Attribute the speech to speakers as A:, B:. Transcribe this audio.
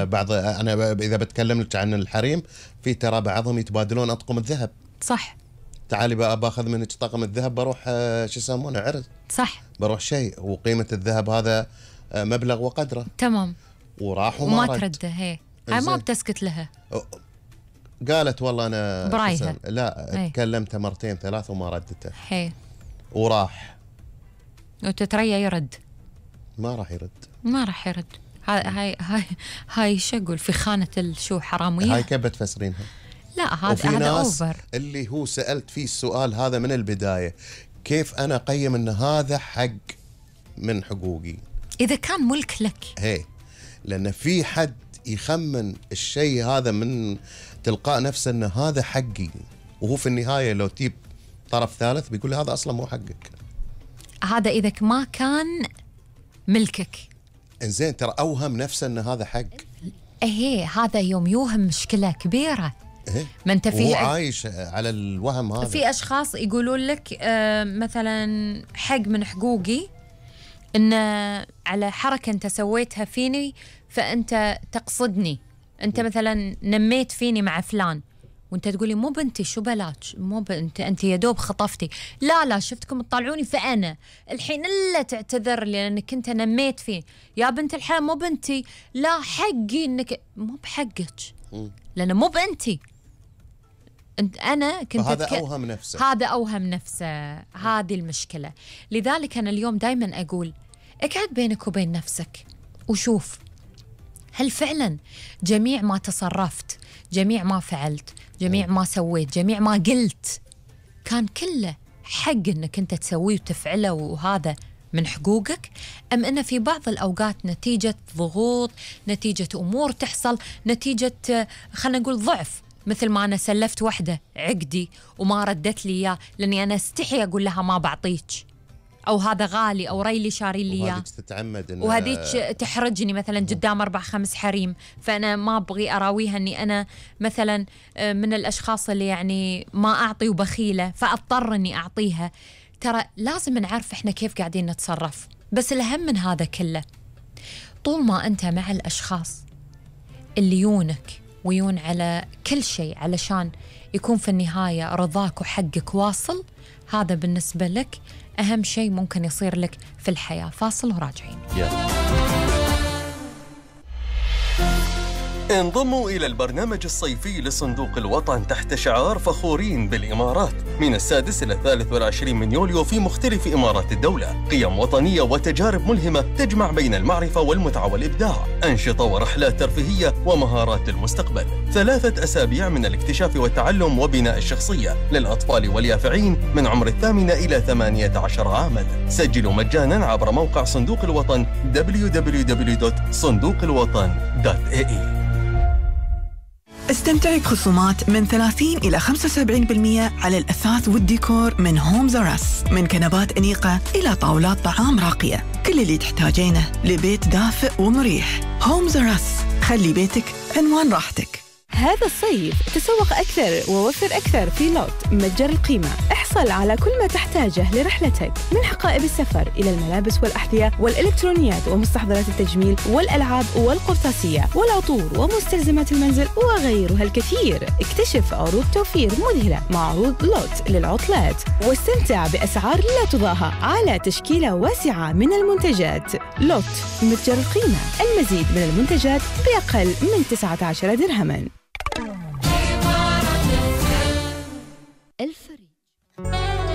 A: بعض أنا إذا بتكلم لك عن الحريم، في ترى بعضهم يتبادلون أطقم الذهب.
B: صح.
A: تعالي بقى باخذ منك طقم الذهب بروح شو يسمونه عرض.
B: صح.
A: بروح شيء وقيمة الذهب هذا مبلغ وقدره.
B: تمام.
A: وراح
B: وما ترده. هي ما بتسكت لها.
A: قالت والله أنا
B: برايها.
A: لا تكلمتها مرتين ثلاث وما ردته.
B: هي
A: وراح
B: وتتريا يرد.
A: ما راح يرد.
B: ما راح يرد. هاي شقول في خانة الشو حرامية.
A: هاي كيف بتفسرينها؟
B: لا هذا أوفر.
A: اللي هو سألت فيه السؤال هذا من البداية، كيف أنا أقيم أن هذا حق من حقوقي
B: إذا كان ملك لك؟
A: هي لأن في حد يخمن الشيء هذا من تلقاء نفسه أن هذا حقي، وهو في النهاية لو تجيب طرف ثالث بيقول هذا أصلا مو حقك.
B: هذا إذا ما كان ملكك.
A: إنزين ترى أوهم نفسه أن هذا حق.
B: هذا يوم يوهم مشكلة كبيرة. ما انت
A: وهو عايش على الوهم هذا.
B: في اشخاص يقولون لك مثلا حق من حقوقي ان على حركه انت سويتها فيني فانت تقصدني، انت مثلا نميت فيني مع فلان وانت تقولي مو بنتي شو بلاك، مو بنت انت يا دوب خطفتي، لا شفتكم تطلعوني فانا الحين الا تعتذر لي لانك انت نميت فيه. يا بنت الحلال مو بنتي، لا حقي انك مو بحقك لانه مو بنتي. أنا كنت
A: هذا أوهم نفسه.
B: هذا أوهم نفسه. هذه المشكلة. لذلك أنا اليوم دايما أقول اقعد بينك وبين نفسك وشوف هل فعلا جميع ما تصرفت، جميع ما فعلت، جميع ما سويت، جميع ما قلت كان كله حق أنك أنت تسويه وتفعله وهذا من حقوقك، أم أن في بعض الأوقات نتيجة ضغوط، نتيجة أمور تحصل، نتيجة خلنا نقول ضعف، مثل ما أنا سلفت وحدة عقدي وما ردت لي إياه لأني أنا استحي أقول لها ما بعطيك، أو هذا غالي، أو ريلي شاري لي إياه،
A: وهذيك تتعمد
B: وهذيك تحرجني مثلا قدام 4-5 حريم، فأنا ما أبغي أراويها أني أنا مثلا من الأشخاص اللي يعني ما أعطي وبخيلة فأضطر أني أعطيها. ترى لازم نعرف إحنا كيف قاعدين نتصرف. بس الأهم من هذا كله طول ما أنت مع الأشخاص اللي يونك ويون على كل شيء علشان يكون في النهاية رضاك وحقك واصل، هذا بالنسبة لك أهم شيء ممكن يصير لك في الحياة. فاصل وراجعين.
C: انضموا إلى البرنامج الصيفي لصندوق الوطن تحت شعار فخورين بالإمارات من 6 إلى 23 من يوليو في مختلف إمارات الدولة. قيم وطنية وتجارب ملهمة تجمع بين المعرفة والمتعة والإبداع، أنشطة ورحلات ترفيهية ومهارات للمستقبل. 3 أسابيع من الاكتشاف والتعلم وبناء الشخصية للأطفال واليافعين من عمر 8 إلى 18 عاما. سجلوا مجانا عبر موقع صندوق الوطن www.صندوقالوطن.ae.
D: استمتعي بخصومات من 30 إلى 75% على الأثاث والديكور من هومز أراس، من كنبات أنيقة إلى طاولات طعام راقية، كل اللي تحتاجينه لبيت دافئ ومريح. هومز أراس، خلي بيتك عنوان راحتك.
E: هذا الصيف تسوق أكثر ووفر أكثر في لوت متجر القيمة. احصل على كل ما تحتاجه لرحلتك، من حقائب السفر إلى الملابس والأحذية والإلكترونيات ومستحضرات التجميل والألعاب والقرطاسية والعطور ومستلزمات المنزل وغيرها الكثير. اكتشف عروض توفير مذهلة مع عروض لوت للعطلات، واستمتع بأسعار لا تضاهى على تشكيلة واسعة من المنتجات. لوت متجر القيمة، المزيد من المنتجات بأقل من 19 درهما. الفريق